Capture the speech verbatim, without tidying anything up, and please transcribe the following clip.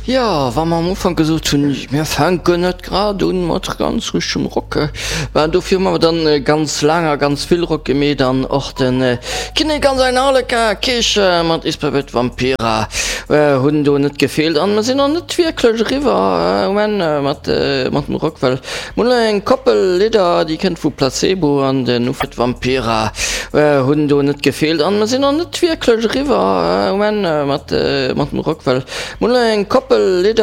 Jo, wa mer am Ufank gesot hunn, mir fänken net grad un mat ganz richteg Rock, well dofir hu mer dann ganz laang a ganz vill Rock gemeet an och de Kinnek an säin Harlequin Keecher mat Isperbett Vampira hunn do net gefeelt an mer sinn och net wierklech eriwwer um Enn mat mat dem Rock, well mer hunn elo eng Koppel Lidder, déi kënnt vu Placebo an den Ufet Vampira hunn do net gefeelt an mer sinn och net wierklech eriwwer um Enn mat mat dem Rock, well mer hunn elo eng Koppel Lidder.